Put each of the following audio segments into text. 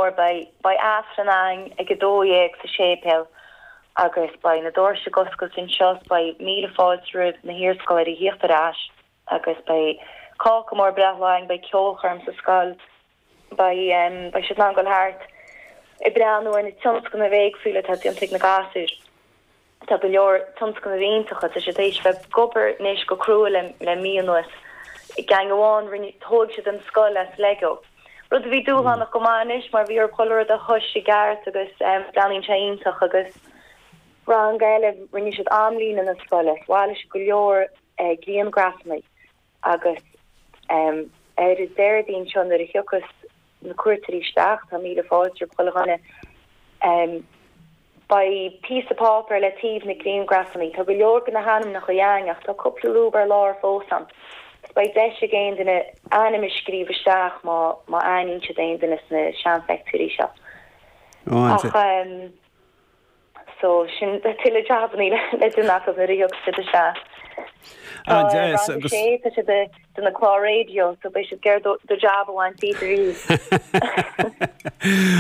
mór, beidh, beidh Aifreann againn ag 12 sa séipéal agus beidh na doirse ag oscailt anseo 's beidh míle fáilte roimh na hiarscoláirí a thíocht ar ais agus beidh cáca mór breithlá againn, beidh ceolchoirm sa scoil, beidh, beidh siad in ann dul thart ag breathnú ar na tionscnaimh éagsúla atá déanta ag na gasúir. Tá go leor tionscnaimh iontacha, tá siad théis bheith ag obair anois go crua le le mí anuas. Gang amháin, rinne, thóig siad an scoil as Lego. Rud a bhí dúshlánach go maith anois mar bhí orthu chuile rud a thois i gceart agus breathnaíonn sé iontach agus rang eile, rinne siad amlíne na scoile, bhailigh siad go leor grianghrafanna agus ar an Déardaoin seo nuair a thiocfas na cuairteoirí isteach, tá míle fáilte roimh chuile dhuine. Beidh píosa páipéir le taobh na grianghrafanna. Tá go leor de na hainmneacha againn ach tá cúpla lúb ar lár fós ann. So beidh deis ag aon duine ainm a scríobh isteach má má aithníonn siad aon duine sna seanphictiúirí seo. Ach So, sin tuilleadh jabannaí le déanamh acu nuair a thiocfaidh siad isteach. Tá An-deas, rang a agus. sé, tá siad ag déanamh clár raidió, so beidh siad ag iarraidh do do jab a bhaint díot arís.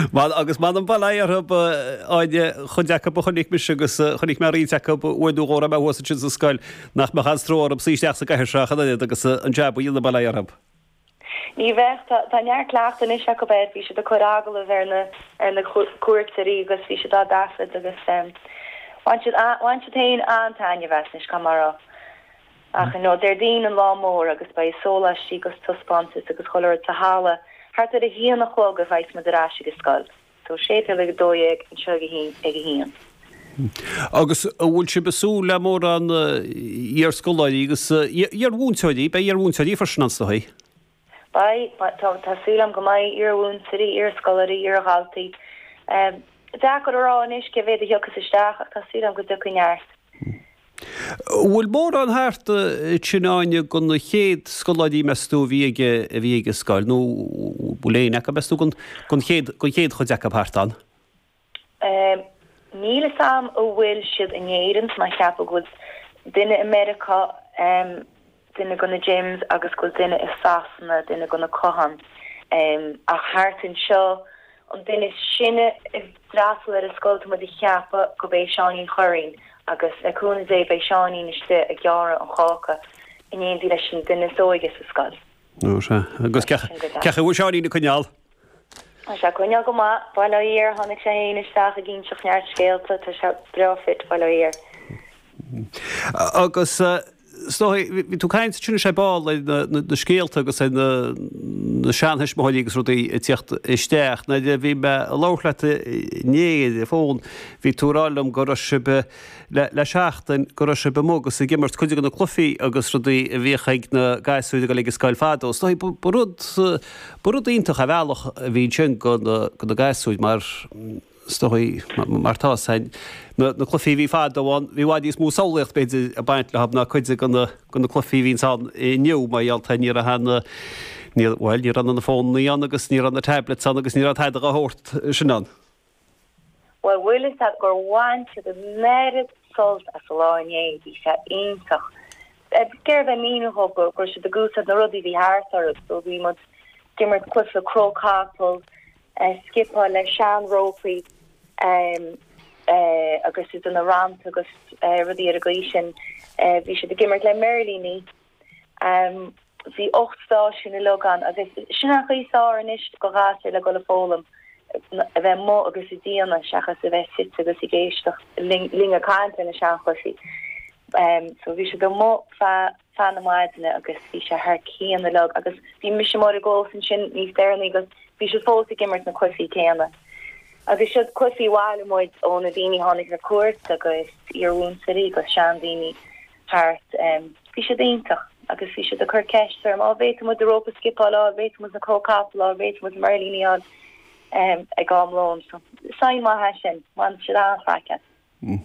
Bhuel, agus m'anam bail ó Dhia orthu, Áine, chuid acu a chonaic mise agus chonaic mé roinnt acu uair nó dhó a raibh mé thuas ansin sa scoil, nach mbeadh aon stró orthu suí isteach sa gcathaoir seo ach an oiread agus an jab a dhéanamh, bail ó Dhia orthu. Ní bheadh. Tá neart cleachtaidh anois acu air. Bhí siad ag cur agallamh ar na ar na cuairteoirí agus bhí siad á dtaifead agus bhain siad bhain siad féin an-taitneamh as anois, caithfidh mé a rá. Ach you know, Déardaoin an lá mór agus beidh sóláistí agus taispeántas agus chuile rud sa halla. Thart ar a haon a chlog a bheas muid ar ais ag an scoil. So séipéal ag 12, anseo ag a haon ag a haon. Agus an bhfuil sibh ag súil le mórán iar-scoláirí agus iar-mhúinteoirí, beidh iar-mhúinteoirí freisin ann is dóigh? Beidh, tá, tá súil agam go mbeidh iar-mhúinteoirí, iar-scoláirí, iar-dhaltaí. Deacair a rá anois cé mhéad a thiocfas isteach ach tá súil agam go dtiocfaidh neart. An bhfuil mórán thart ansin Áine de na chéad scoláirí meas tú a bhí ag a bhí ag an scoil nó bhfuil éinne acu meas tú den den chéad den chéad chuid acu thart ann? Níl fhios a'm an bhfuil siad in Éirinn, tá mé ag ceapadh go bhfuil duine i Meiriceá, duine de na Jims agus go bhfuil duine i Sasana, duine de na Cohans. Ach thart anseo, an duine is sine a d'fhreastail ar an scoil, tá muid ag ceapadh gurb é Seáinín Churraoin agus le cúnamh Dé beidh Seáinín istigh ag gearradh an cháca in éindí leis an duine is óige sa scoil. Ó sea. Agus cén chaoi a bhfuil Seáinín ag coinneáil? Tá sé ag coinneáil go maith, bail ó Dhia air, tháinig sé féin isteach ag inseacht neart scéalta, tá sé breá fit, bail ó Dhia air. Agus is dóigh, bhí tú ag caint ansin ar ball ar na scéalta agus ar na seantuismitheoirí agus rudaí ag tíocht isteach. Nuair a bhí mé ag labhairt leat inné ar an bhfón, bhí tú ag rá liom go raibh sibh, le seachtain, go raibh sibh amuigh agus ag imirt cuid de na cluichí agus rudaí a bhíodh ag na gasúir ag dul ag an scoil fadó. Is dóigh, ba rud, ba rud iontach ar bhealach a bhí ansin do na gasúir mar, is dóigh, mar tá 'fhios a'inn, na cluichí a bhí fadó ann, bhí i bhfad níos mó samhlaíocht b'fhéidir ag baint leo ná cuid de na cluichí a bhíonns ann inniu mar gheall tá ní raibh na, ní, bhuel, ní raibh na fónannaí ann agus ní raibh na tablets ann agus ní raibh tada dá shórt sin ann. Bhuel, bhfuil fhios a'd gur bhain siad an oiread sult as an lá inné, bhí sé iontach. Ag iarraidh bheith ag míniú dhóibh go raibh siad ag úsáid na rudaí a bhí thart orthu, so bhí muid ag imirt cluiche cró capall, scipeáil le seanrópaí agus iad ina rannta agus rudaí ar an gcaoi sin. Bhí siad ag imirt le mirlíní. Bhí 8 stáisiún uilig ann agus sin an chaoi is fearr anois do ghasúir le dul ag foghlaim, a bheith amuigh agus ag déanamh seachas a bheith suite agus ag éisteacht linn ag caint ar na seanchluichí. So bhí siad amuigh feadh feadh na maidine agus bhí sé thar cionn uilig agus bhí mise amuigh ar an gclós ansin níos deireanaí agus bhí siad fós ag imirt na cluichí céanna. Agus siod cluichí a bhailigh muid ó na daoine a tháinig ar cuairt agus iarmhúinteoirí agus seandaoine thart. Bhí siad iontach agus bhí siad ag cur ceist orm, á bhféadfaidh muid an rópa scipeáil a fháil, bhféadfaidh muid na cró capall a fháil, bhféadfaidh muid na mirlíní a fháil ag am lóin. So sign maith é sin, bhain siad an-chraic as.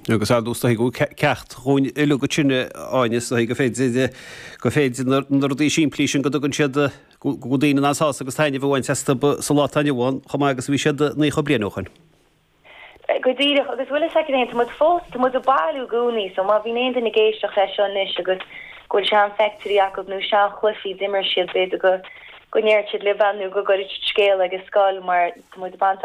Agus ar ndóigh is dóigh go bhfuil ceacht dhúinn uilig ansin Áine, is dóigh gur féidir, gur féidir na rudaí simplí sin go dtugann siad, go bhfuil daoine in ann sásamh agus taitneamh a bhaint astu sa lá atá inniu ann chomh maith agus a bhí siad 90 bliain ó shoin. Go díreach, agus bhfuil fhios agat féin, tá muid fós, tá muid ag bailiú i gcónaí, so má bhíonn aon duine ag éisteacht leis seo anois agus go bhfuil seanphictiúirí acu nó seanchluichí d'imir siad, b'fhéidir go, go ndéarfadh siad libh é nó go gcuirfidh siad scéala ag an scoil mar tá muid ag baint.